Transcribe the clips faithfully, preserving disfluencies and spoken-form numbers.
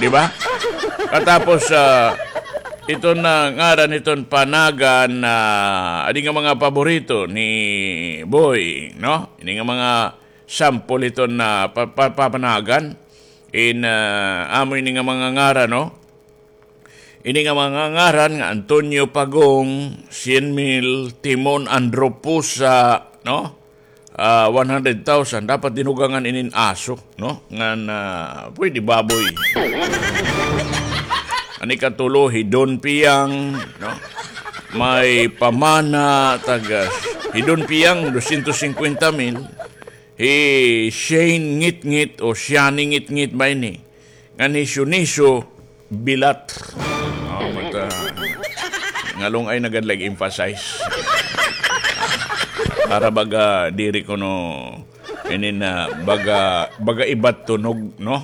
Di ba? Katapos, ah, iton, ah, ngaran iton panagan, ah, adi nga mga paborito ni Boy, no? Ini nga mga sample iton na pa-, pa-, papanagan. In, ah, amo ini nga mga ngaran, no? Ini nga mga ngaran nga Antonio Pagong, Cien Mil, Timon Andropusa, no? Ah, one hundred thousand, dapat dinugangan inin aso, no? Ngan, ah, pwede baboy. An ikatulo, hi Don Piang, no? May pamana, taga, hi Don Piang, dosyentos singkwenta mil. Hi Shane Ngitngit o Shani Ngitngit ba ini? Ngan hi Shuniso Bilat. Oh, mata. Ngalong-ay nagad lag-emphasize. Para baga diri kuno ini na baga, baga ibat tunog, no?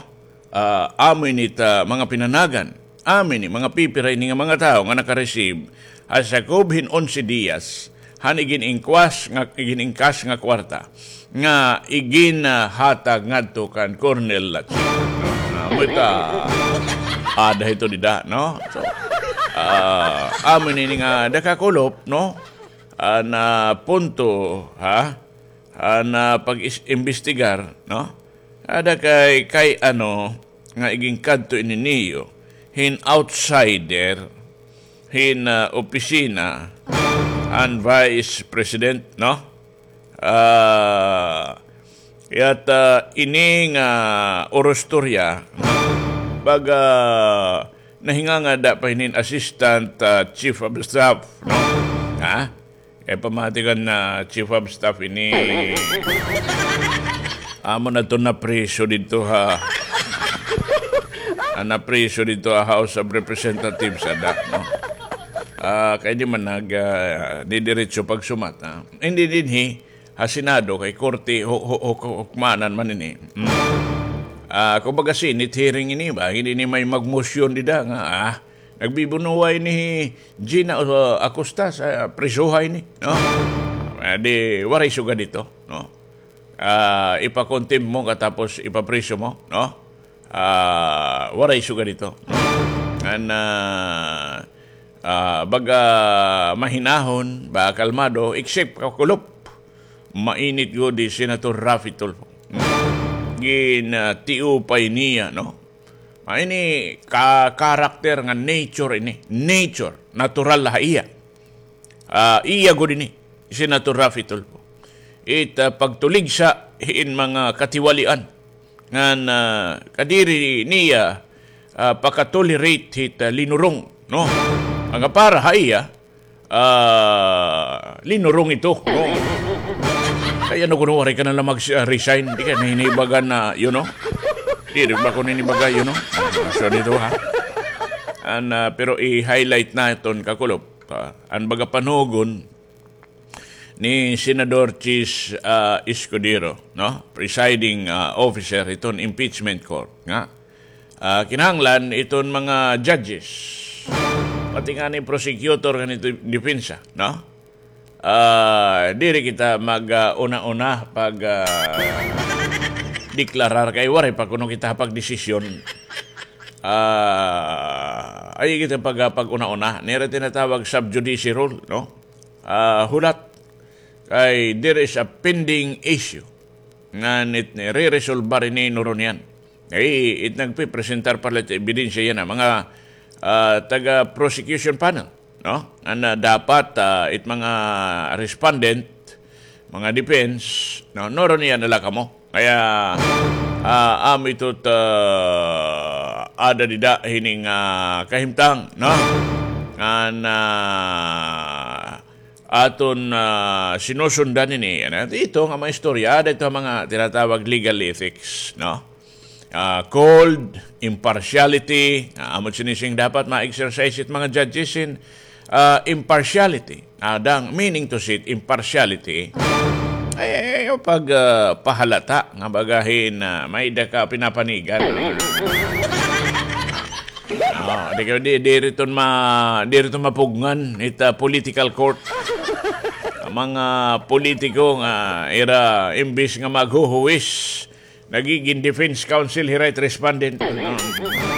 Ah, amo ini ta mga pinanagan. Amo ini, mga pipira ini nga mga tawo nga naka-receive ha sakob hin onse diyas han igin-ingkwas nga, igin-ingkas nga kwarta nga igin, ah, hatag ngadto kan Colonel Lachip. Amo ita, ada hito dida, no? So, ah, amo ini nga dakakulop, no? Ah, na punto, ha? Ah, na pag-imbestigar, no? Ada kay, kay ano, nga iginkadto ini niyo, hin outsider, hin, ah, opisina, an Vice President, no? Ah, yata ini nga urostorya, baga nahingangada pa hinin Assistant, ah, Chief of Staff, no? Ha? Kay pamati kan, ah, Chief of Staff ini, amo na to napriso didto ha, ah, napriso didto ha House of Representatives, ada, no? Ah, kay di man nag, ah, didiretso pagsumat, ha? Hindi dinhi, ha Senado, kay korte, hu-, hu-, hu-, hukmanan man ini. Mm. Ah, kumbaga, Senate hearing ini ba? Hindi ini may magmosyon dida nga, ah, nagbibunuway ni Gina, uh, Acosta sa prisuhay ni, no? Ah, di, waray sugad ito, no? Ah, ipakontempt mo katapos ipapriso mo, no? Ah, waray sugad ito, no? Ngan, ah, ah, baga mahinahon, ba kalmado, except kakulop. Mainit gud hi Senator Raffy Tulfo. Ginatiupay niya, no? Ah, ini ka-, character nga nature ini. Nature. Natural ha iya. Ah, iya gud ini, Senator Raffy Tulfo. It, ah, pagtuligsa hin mga katiwalian. Ngan, ah, kadiri niya, ah, pakatolerate hit, ah, linurong, no? Nga para ha iya, ah, linurong ito, no? Kay ano kuno waray ka na la mag-, ah, resign, di ka na hinibagan na, you know? Diri ba ko ninibaga, you know? So, dito, ha? An, ah, pero i-highlight naton, kakulop, ah, an baga panugon ni Senador Chiz, ah, Escudero, no? Presiding, ah, officer hiton impeachment court nga, ah, kinahanglan iton mga judges, pati ngani prosecutor ngan ito depensa, no? Ah, diri kita mag, ah, una-una pag, ah, deklarar kay waray pa kuno kita pagdesisyon. Ah, ay kita pag, ah, pag-una-una. Nira tinatawag sub judice rule, no? Ah, hulat. Kay there is a pending issue nga nit-, nire-resolbar ini nuron yan. Kay it nagpipresentar pa la it ebidensya yana, mga, ah, taga-prosecution panel, no? Nga dapat, ah, it mga respondent, mga defense, no, nuron niya na la kamo. Kaya, ah, amo ito ta-, ada dida hining, ah, kahimtang, no? Ngan, ah, aton, ah, sinusundan ini, ano, ito nga mga istorya, ada ito mga tinatawag legal ethics, no? Ah, cold, impartiality, ah, amo sinising dapat ma-exercise it mga judges in, ah, impartiality. Ah, dang meaning to say impartiality, ay, ay, ay, pag, ah, pahalata nga baga hin, ah, may-ada ka pinapanigan. Ah, di ka, di, diri ton ma-, diri ton mapugngan it, ah, political court. An mga politiko nga ira imbis nga maghuhuwis, nagigin defense counsel hira it respondent. Ah.